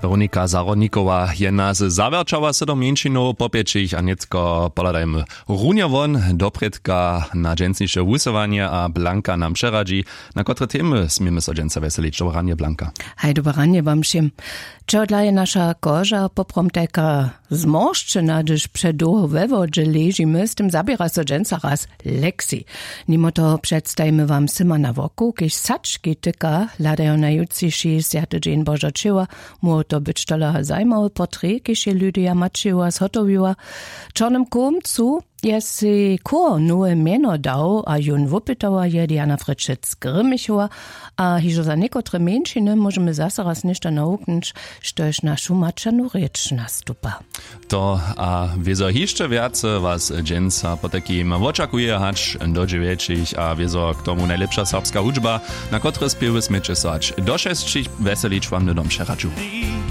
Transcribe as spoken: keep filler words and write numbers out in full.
Weronika Zahrodnikowa je nas zawjerćała sydom mjeńšinow popjećich a nětko pohladajmy runje won doprědka na dźensniše wusyłanje a blanka nam přeradźi, na kotre temy směmy so dźensa wjeselić. Dobre ranje, blanka. Haj, dobre ranje wam wšěm. Čehodla je naša koža poprawom tajka zmoršćena, hdyž předołho we wodźe ležimy? Z tym zaběra so dźensa raz lexi. Nimo toho předstajimy wam syma na wokoł, kiž sački tyka, hladajo na jutřiši swjaty dźeń božo ćěła. Móhło to być tola zajimawy portret, kiž je lydia maćiła zhotowiła. W čornym kumcu je sej chór nowe mjeno dał a jón wupytała je diana frěčec grymichowa. A hižo za někotre mjeńšiny móžemy zaso raz něšto nawuknyć, štož našu maćernu rěč nastupa. To a wězo hišće wjace was dźensa potajkim wočakuje hač do dźewjećich a wězo k tomu najlěpša serbska hudźba, na kotrej spěwy směće so hač do šesćich wjeselić wam hnydom přeradźu.